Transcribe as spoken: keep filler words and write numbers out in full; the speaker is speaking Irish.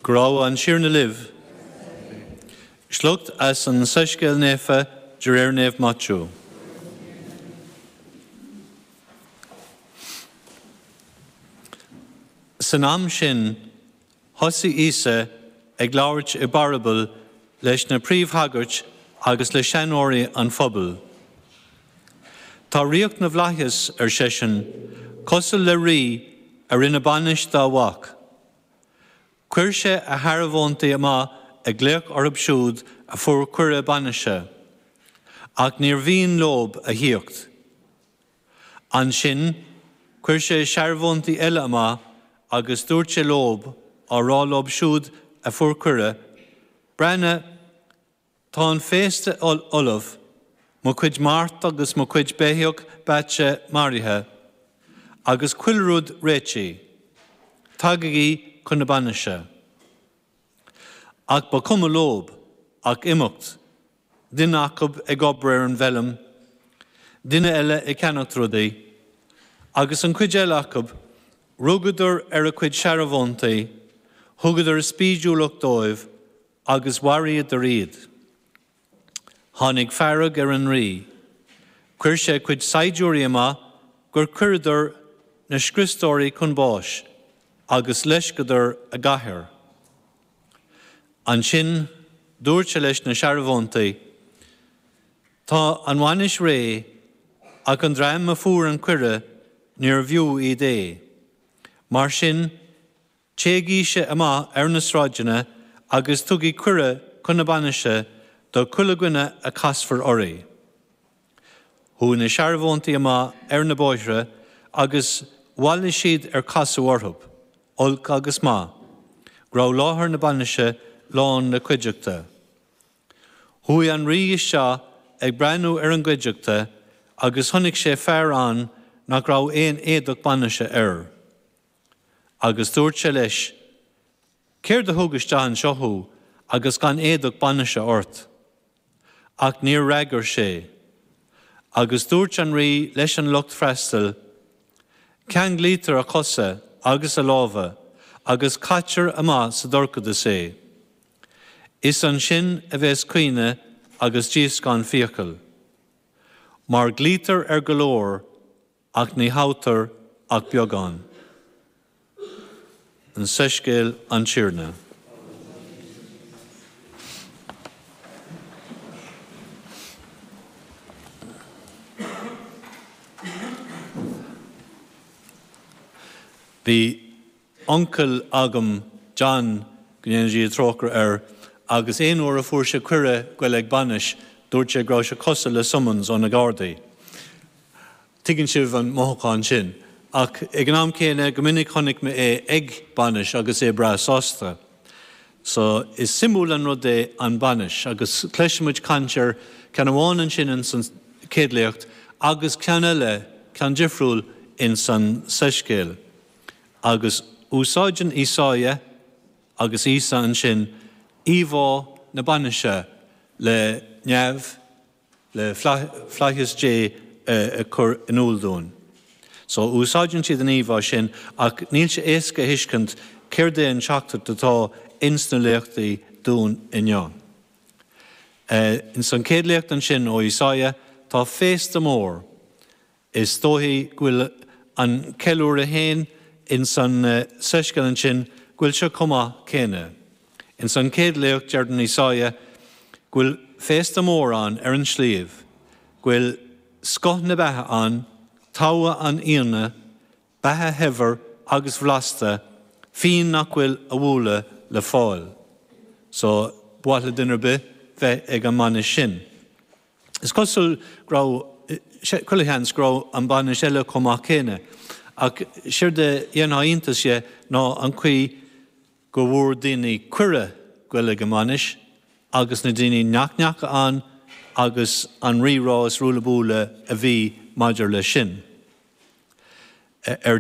Go raibh an Tiarna libh. Sliocht as an Soiscéal Naofa de réir Naomh Maitiú. San am sin, thosaigh Íosa ag labhairt i bparabail leis na príomhshagairt agus le seanóirí an phobail. Tá ríocht na bhflaitheas, ar seisean, cosúil le rí a rinne bainis dá mhac. Chuir sé a shearbhóntaí amach ag glaoch orthu siúd a fuair cuireadh bainise, ach níor mhian leob a thíocht. Ansin, chuir sé searbhóntaí eile amach agus dúirt sé leob, á rá leob siúd a fuair cuireadh, Breathnaigh, tá an féasta ullamh, mo chuid mart agus mo chuid beithíoch beaite maraithe, agus chuile rud réitithe. Tagaigí chun na bainise. Ach ba chuma leob ach imeacht, duine acu ag obair ar an bhfeilm, duine eile ag ceannacht rudaí, agus an chuid eile acu, rugadar ar a gcuid searbhóntaí, thugadar spídiúlacht dóibh agus mharaíodar iad. Tháinig fearg ar an rí. Chuir sé a chuid saighdiúirí amach gur chuireadar na scriostóirí chun báis agus loisceadar a gcathair. Ansin dúirt sé leis na searbhóntaí, Tá an bhainis réidh, ach an dream a fuair an cuireadh níorbh fhiú iad é. Mar sin, téigíse amach ar na sráideanna agus tugaigí cuireadh chun na bainise do chuile dhuine a chasfar oraibh. Chuaigh na searbhóntaí amach ar na bóithre agus bhailigh siad ar casadh orthu, olc agus maith, go raibh láthair na bainise lán le cuideachta. Chuaigh an rí isteach ag breathnú ar an gcuideachta agus chonaic sé fear ann nach raibh aon éadach bainise air. Agus dúirt sé leis, Céard a thug isteach anseo thú agus gan éadach bainise ort? Ach níor fhreagair sé. Agus dúirt an rí leis an lucht freastail, Ceanglaítear a chosa agus a lámha agus caitear amach sa dorchadas é. Is ansin a bheas caoineadh agus díoscán fiacal. Mar glaoitear ar go leor ach ní thoghtar ach beagán. An Soiscéal an Tiarna. Bhí uncail agam, John, go ndéana Dia trócaire air, agus aon uair a fuair sé cuireadh goil ag bainis, dúirt sé go raibh sé cosúil le summons ó na Gardaí. Tuigeann sibh an mothúchán sin. Ach ag an am céanna, go minic chonaic mé é ag bainis agus é breá sásta. So is suimiúil an rud é an bainis agus cloisfidh muid caint ar ceann amháin ansin ins an chéad léacht agus ceann eile, ceann difriúil ins an soiscéal. Agus úsáideann Ísáia agus Íosa ansin íomhá na bainise le neamh, le flaitheas Dé a chur in iúl dúinn. So úsáideann siad an íomhá sin ach níl sé éasca a thuiscint céard é an teachtaireacht atá ins na léachtaí dúinn inniu. Ins an chéad léacht ansin ó Ísáia tá féasta mór. Is dóichí go bhfuil an ceiliúradh féin ins an soiscéal ansin go bhfuil sé chomh maith céanna. Ins an chéad léacht deireann Ísáia go bhfuil féasta mór ann ar an sliabh, go bhfuil scoth na beatha ann, togha an fhíona, beatha shaibhir agus bhlasta, fíon nach bhfuil a bhualadh le fáil. So, ba mhaith le duine ar bith bheith ag an mbainis sin. Is cosúil go raibh, chuile sheans go raibh an bainis eile chomh maith céanna, ach séard a dhéanfadh iontas dhe ná an chaoi go bhfuair daoine cuireadh goil ag an mbainis agus na daoine nach ndeacha ann agus an rírá is ruaille buaille a bhí maidir leis sin. Ar